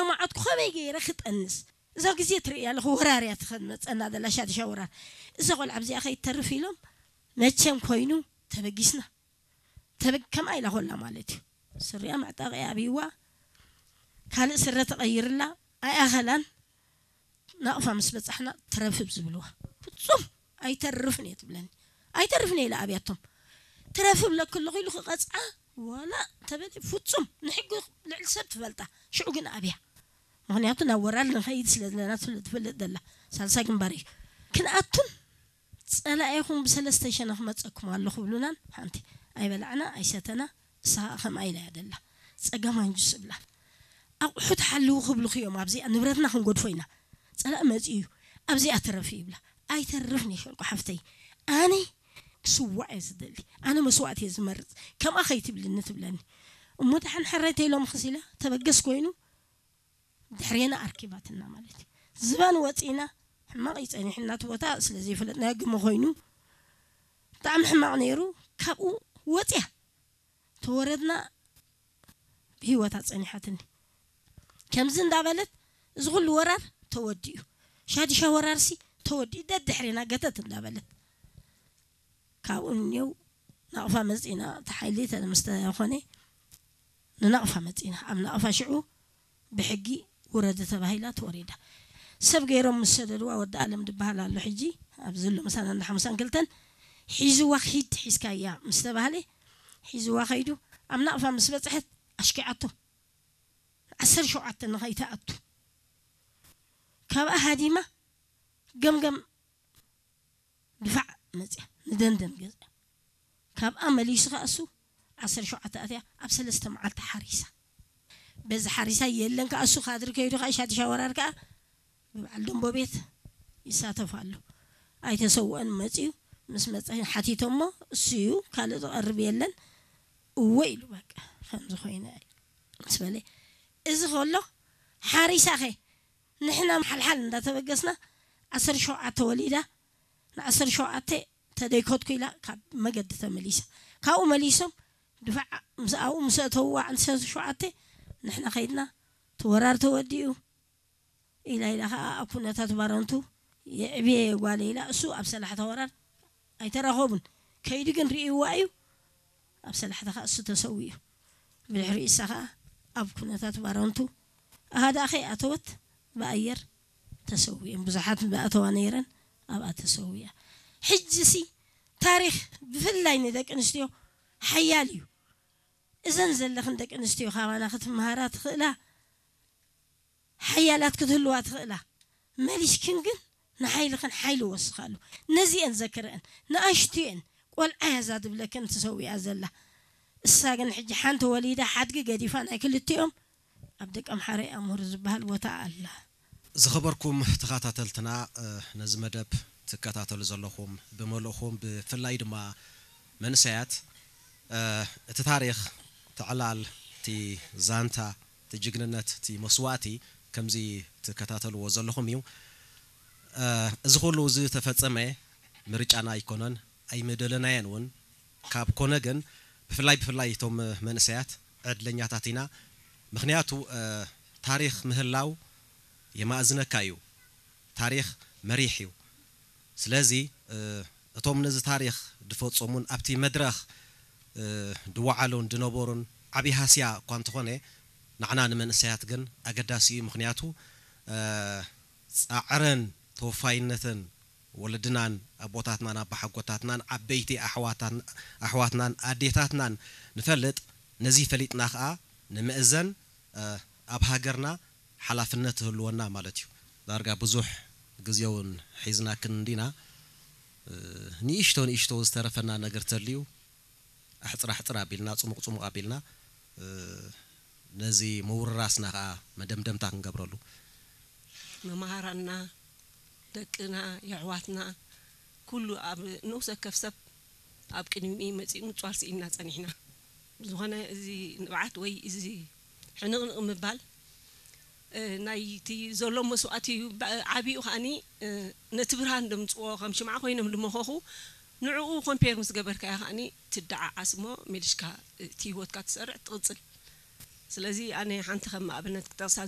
ኣማዓትኩ ከመይ ገይረ ክጠንስ? እዛ ግዜ ትርእያ ኣለኹ፣ ወራር እያ ትኸድ መጸና ዘላ፣ ሻድሻ ወራር። እዛ ቆልዓ ኣብዚኣ ከይትተርፍ ኢሎም መቸም ኮይኑ ተበጊስና። ተበግ-፣ ከምኣ ኢላ ኮላ ማለት እዩ። ስሪኣ መዕጠቒ ኣብይዋ፣ ካልእ ስረ ተቐይርላ፣ ኣይኣኸላን። ናቕፋ ምስ በጻሕና ትረፍብ ዝብልዋ። ፍጹም ኣይተርፍን እየ ትብለኒ። ኣይተርፍን እየ ኢለ ኣብያቶም። ትረፍብ ለክለኹ ኢሉ ክቐጽዓ ዋላ ተበሊ ፍጹም ንሕጊ ልዕሊ ሰብ ትፈልጣ። ሽዑ ግን ኣብያ። ምኽንያቱ ናብ ወራር ንኸይድ ስለ ዘለና ስለ ትፈልጥ ዘላ። ሳልሳይ ግንባር እዩ። ክንኣቱን ጸላኢኹም ብሰለስተ ሸነኽ መጸኩም ኣሎ ክብሉናን ሓንቲ ኣይበላዕና ኣይሰተና። እሳ ኸኣ ከምኣ ኢላ እያ ደላ። ጸጋም ኣንጁስ እብላ። ኣቑሑት ሓልዉ ክብሉኺ እዮም ኣብዚኣ ንብረትና ክንገድፎ ኢና። ጸላኢ መጺኡ እዩ። ኣብዚኣ ትረፊ ይብላ። ኣይተርፍን እየ ሸንቆ ሓፍተይ። ኣነ ክስዋዕ እየ ዝደሊ። ኣነ መስዋእቲ እየ ዝመርጽ። ከምኣ ከይትብልኒ ትብለኒ። እሞ ደሓን ሕራይ ተይሎምኽስ ኢላ ተበገስ ኮይኑ ድሕሬና ኣርኪባትና ማለት እዩ። ዝባን ወጺና ሕማቕ እዩ ጸኒሕና እቲ ቦታ ስለ ዘይፈለጥናዮ ግመ ኮይኑ ብጣዕሚ ሕማቕ ነይሩ። ካብኡ ወጽያ ተወረድና ብህይወታ ጸኒሓትኒ። ከምዚ እንዳበለት እዚ ኩሉ ወራር ተወዲኡ፣ ሻድሻ ወራርሲ ተወዲኡ ደድሕሬና ገተት እንዳበለት ካብኡ እኒው ናቕፋ መጺና እቲ ሓይሊ ተምስተኾነ ንናቕፋ መጺና ኣብ ናቕፋ ሽዑ ብሕጊ ውረዲ ተባሂላ ተወሪዳ። ሰብ ገይሮም ምስ ሰደድዋ ወዲ ኣለም ዝበሃል ኣሎ ሕጂ ኣብዚ ኣሎ ምሳና እንዳ ሓሙሳን ክልተን ሒዝዋ ኪድ ሒዝካያ ምስ ተባህለ ሒዝዋ ከይዱ ኣብ ናቕፋ ምስ በጽሐት ኣሽኪዓቶ ዓሰርተ ሸውዓተ ንኸይትኣቱ ካብኣ ሃዲማ ገምገም ድፋዕ መጽያ ንደንደን ገዛ ካብኣ መሊሱ ከኣ እሱ ዓሰርተ ሸውዓተ ኣትያ ኣብ ሰለስተ መዓልቲ ሓሪሳ በዚ ሓሪሳ የለን ከኣ እሱ ካድሪ ከይዱ ከኣ ሻድሻ ወራር ከኣ ብበዓል ደንቦ ቤት ይሳተፍ ኣሎ ኣይተሰውአን መጽዩ ምስ መጸ ሓቲቶሞ እሱ እዩ ካልእ ዝቐርብ የለን እወ ኢሉ በቃ ከምዚ ኮይነ ምስ በለ እዚ ከሎ ሓሪሳኸ ንሕና ሓልሓል እንዳተበገስና ዓሰርተ ሸውዓተ ወሊዳ ንዓሰርተ ሸውዓተ ተደይኮትኩ ኢላ ካብ መገዲ ተመሊሳ ካብኡ መሊሶም ድፋዕ ምስኣኡ ምስ ኣተውዋ ዓሰርተ ሸውዓተ ንሕና ከይድና ተወራር ተወዲኡ ኢላ ኢላ ከዓ ኣብ ኩነታት ባረንቱ የዕብየ ጓለ ኢላ እሱ ኣብ ሰላሕታ ወራር ኣይተራኸቡን ከይዱ ግን ርእይዋ እዩ ኣብ ሰላሕታ ከዓ እሱ ተሰዊኡ ብድሕሪ እሳ ከዓ ኣብ ኩነታት ባረንቱ ኣሃዳ ከይኣተወት ብኣየር ተሰዊኦም ብዙሓት ብኣተዋ ነይረን ኣብኣ ተሰዊያ ሕጂ ሲ ታሪኽ ብፍላይ ንደቂ ኣንስትዮ ሓያል እዩ እዘን ዘለኽን ደቂ ኣንስትዮ ካባና ክትመሃራ ትኽእላ ሓያላት ክትህልዋ ትኽእላ መሊስክን ግን ንሓይልኽን ሓይሊ ወስኻሉ ነዚአን ዘክረአን ንኣሽቱየን ቆልዓ ያዛ ዝብለክን ትሰዊኣ ዘላ እሳ ግን ሕጂ ሓንቲ ወሊዳ ሓድጊ ገዲፋ ናይ ክልቲኦም ኣብ ደቀምሓረ ኣምሁር ዝበሃል ቦታ ኣላ። ዝኸበርኩም ተኸታተልትና ነዚ መደብ ትከታተሉ ዘለኹም ብመልእኹም ብፍላይ ድማ መንእሰያት እቲ ታሪኽ እቲ ዕላል እቲ ዛንታ እቲ ጅግንነት እቲ መስዋእቲ ከምዚ ትከታተልዎ ዘለኹም እዩ። እዚ ኩሉ ዝተፈጸመ ምርጫና ኣይኮነን ኣይመደለናየን እውን ካብ ኮነ ግን ብፍላይ ብፍላይ እቶም መንእሰያት ዕድለኛታት ኢና ምክንያቱ ታሪክ ምህላው የማእዝነካ እዩ ታሪክ መሪሕ እዩ ስለዚ እቶም ነዚ ታሪክ ድፈጸሙን ኣብቲ መድረክ ድወዓሉን ድነበሩን ዓብይ ሃስያ እኳ እንተኾነ ንዓና ንመንእሰያት ግን ኣገዳሲ እዩ ምክንያቱ ፃዕረን ተወፋይነትን ወለድናን ኣቦታትናን ኣባሓጎታትናን ዓበይቲ ኣሕዋትናን ኣዴታትናን ንፈልጥ ነዚ ፈሊጥና ከዓ ንምእዘን ኣብ ሃገርና ሓላፍነት ትህልወና ማለት እዩ ዳርጋ ብዙሕ ግዜ እውን ሒዝናክን እንዲና ንእሽቶ ንእሽቶ ዝተረፈና ነገር ተልዩ ኣሕፅር ኣሕፅር ኣቢልና ፅሙቕ ፅሙቕ ኣቢልና ነዚ ምውርራስና ከዓ መደምደምታ ክንገብረሉ። መምሃራንና፣ ደቅና፣ የሕዋትና ኩሉ ኣብ ንኡስ ወከፍ ሰብ ኣብ ቅድሚኡ መጺኡ ምጽዋር ስኢንና ጸኒሕና። ብዝኾነ እዚ ንብዓት ወይ እዚ ሕንቕንቕ ምባል ናይቲ ዘሎ መስዋእቲ እዩ። ዓቢኡ ከኣኒ ነቲ ብርሃን ደምጽዎ ከም ሽምዓ ኮይኖም ድመኸኹ ንዕኡ ኮምፔር ምስ ገበርካዮ ከኣኒ ትደዓዓስ እሞ መሊሽካ እቲ ህይወትካ ትሰርዕ ትቕጽል። ስለዚ ኣነ ሓንቲ ከም ኣብነት ክጠቕሳ